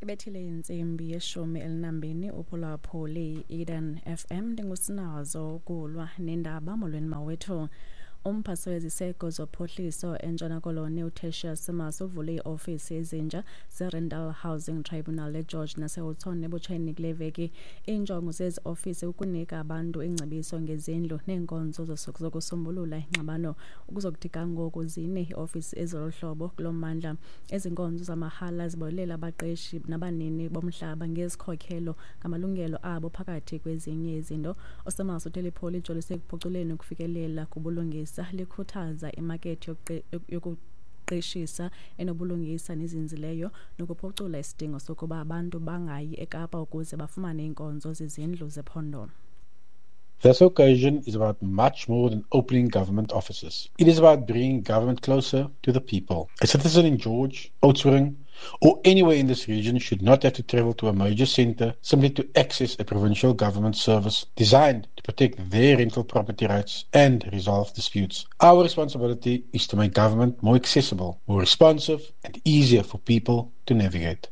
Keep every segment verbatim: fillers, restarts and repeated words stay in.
Ibethile intsimbi yeshumi elinambini uphulaphuli Eden F M ndingusinazo kulwa nendaba. Molweni mawethu. Umphathiswa weziseko zophuhliso eNtshona Koloni uTertius Simas uvule iiofisi ezintsha zeRental Housing Tribunal eGeorge naseHoughton ebutsheni kule veki. Iinjongo zezi ofisi kukunika abantu iingcebiso ngezindlu neenkonzo zokusombulula ingxabano. Ukuzokuthi ga ngoku zine iiofisi ezilolu hlobo kulo mmandla. Ezi nkonzo zamahala zibonelela abaqeshi nabanini bomhlaba ngezikhokhelo ngamalungelo abo phakathi kwezinye izinto. USimas uthe liphulo lijolise ekuphuculeni ukufikelela kubulungisa, likhuthaza imakethi yokuqeshisa enobulungisa nezinzileyo nokuphucula isidingo sokuba abantu bangayi eKapa ukuze bafumane iinkonzo zezindlu zephondo. This occasion is about much more than opening government offices. It is about bringing government closer to the people. A citizen in George, Oudtshoorn, or anywhere in this region should not have to travel to a major center simply to access a provincial government service designed to protect their rental property rights and resolve disputes. Our responsibility is to make government more accessible, more responsive, and easier for people to navigate.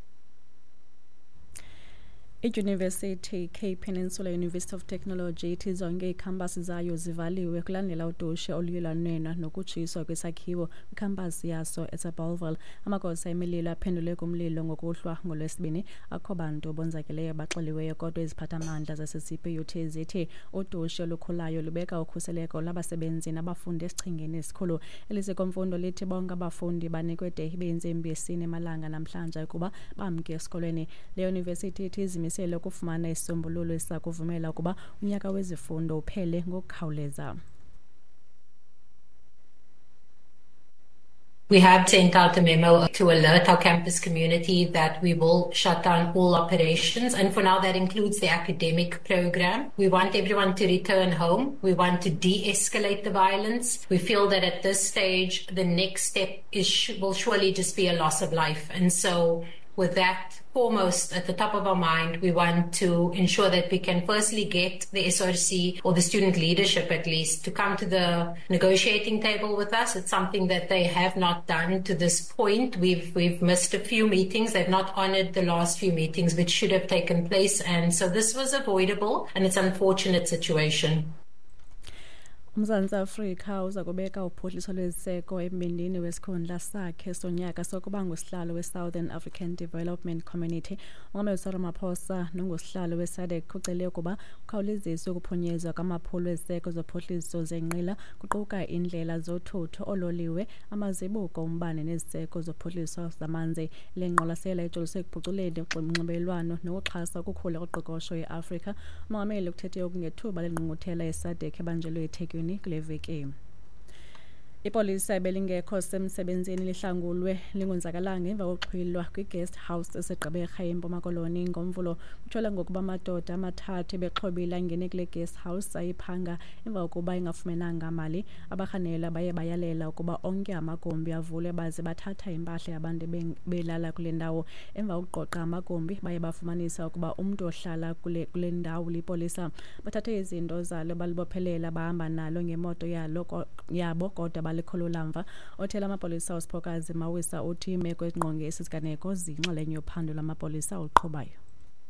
Idyunivesithi Cape Peninsula University of Technology ithi zonke iikhampasi zayo zivaliwe kulandela udushe oluye lwanwenwa nokutshiswa kwesakhiwo kwikhampasi yaso eseBellville. Amagosa emililo aphendule kumlilo ngokuhlwa ngoLwesibini. Akho bantu bonzakeleyo baxeliweyo, kodwa iziphathamandla zase-C P U T zithi udushe olukhulayo lubeka ukhuseleko lwabasebenzi nabafundi esichengeni esikhulu. Eliziko mfundo lithi bonke abafundi banikwe de ibe yintsimbi yesine emalanga namhlanje ukuba bamke esikolweni. Le yunivesithi ithi izimisele ukufumana isisombululo esizakuvumela ukuba unyaka wezifundo uphele ngokukhawuleza. We have sent out a memo to alert our campus community that we will shut down all operations. And for now, that includes the academic program. We want everyone to return home. We want to de-escalate the violence. We feel that at this stage, the next step is will surely just be a loss of life. And so with that foremost at the top of our mind, we want to ensure that we can firstly get the S R C or the student leadership at least to come to the negotiating table with us. It's something that they have not done to this point. We've, we've missed a few meetings. They've not honored the last few meetings which should have taken place. And so this was avoidable, and it's an unfortunate situation. UMzantsi Afrika uza kubeka uphuhliso lweziseko embindini wesikhundla sakhe sonyaka sokuba ngusihlalo we-Southern African Development Community. Umongameli Cyril Ramaphosa nongusihlalo we-SADC ucele ukuba kukhawuleziswe ukuphunyezwa kwamaphulo eziseko zophuhliso zenqila, kuquka iindlela zothutho, oololiwe, amazibuko ombane neziseko zophuhliso zamanzi. Le ngqwalasela ijoliswe ekuphuculeni unxibelelwano nokuxhasa ukukhula koqoqosho eAfrika. Umongameli ukuthethe oku ngethuba lengqungquthela ye-SADC ebanjelwe eThekwini kule veki. Ipolisa ebelingekho semsebenzini lihlangulwe lingonzakalanga emva kokuxhwilwa kwi-guest house eseGqeberha eMpuma Koloni ngoMvulo. Kutyholwa ngokuba amadoda amathathu ebexhobile angene kule guest house ayiphanga emva kokuba ingafumenanga mali. Abarhanelwa baye bayalela ukuba onke amagumbi avulwe baze bathatha impahla yabantu belala kule ndawo. Emva kokuqoqa amagumbi baye bafumanisa ukuba umntu ohlala kule, kule ndawo lipolisa. Bathathe izinto zalo balibophelela bahamba nalo ngemoto yalo yabo kodwa balikhulula mva. Othela amapolisa uSiphokazi Mawisa uthi imeko ezingqonge esi siganeko ziyinxalenye yophando lwamapolisa oluqhubayo.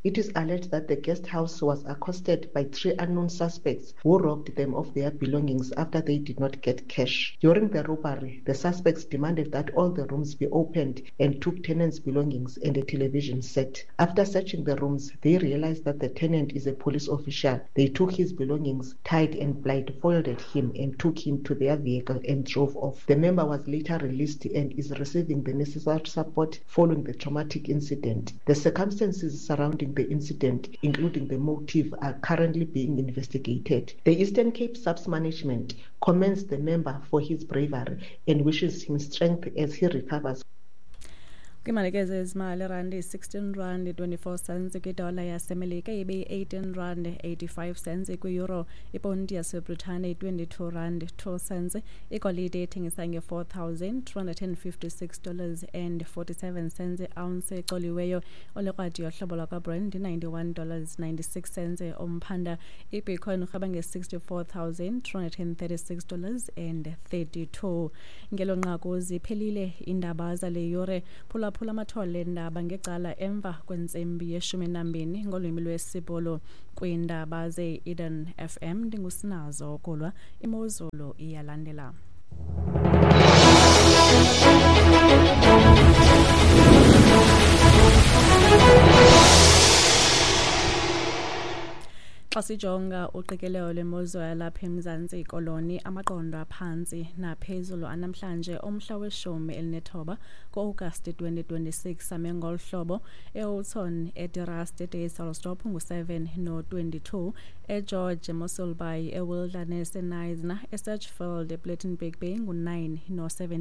It is alleged that the guest house was accosted by three unknown suspects who robbed them of their belongings after they did not get cash. During the robbery, the suspects demanded that all the rooms be opened and took tenants' belongings and a television set. After searching the rooms, they realized that the tenant is a police official. They took his belongings, tied and blindfolded him, and took him to their vehicle and drove off. The member was later released and is receiving the necessary support following the traumatic incident. The circumstances surrounding the incident, including the motive, are currently being investigated. The Eastern Cape S A P S management commends the member for his bravery and wishes him strength as he recovers. Kwimalike zezimali, irandi sixteen rand twenty-four cents kwidola yaseMelika, ibe yi-eighteen rand eighty-five cents kwi-euro, iponti yaseBritane twenty-two rand two cents, igolide ethengisa nge-four thousand two hundred and fifty-six dollars and forty-seven cents ounce ecoliweyo, olekrwadi yohlobo lwakwaBrent ninety-one dollars ninety-six cents umphanda, iBitcoin urhweba nge-sixty-four thousand two hundred and thirty-six dollars and thirty-two. Ngelo nqaku ziphelile iindaba zale yure. Phulaphula Phulaphula amathole endaba ngecala emva kwentsimbi yeshumi nambini ngolwimi lwesiBhulu. Kwiindaba ze-Eden F M ndingusinazo Kulwa. Imozulu iyalandela. Xa sijonga uqikelelo lwemozulu yalapha eMzantsi Koloni, amaqondo aphantsi naphezulu anamhlanje umhla weshumi elinethoba ku-Agasti twenty twenty-six ame ngolu hlobo: eHoughton, eDeRust, eDysselsdorp ngu-seven no-twenty-two, eGeorge, eMossel Bay, eWilderness, eKnysna, eSedgefield, ePlettenberg Bay ngu-nine no-seven.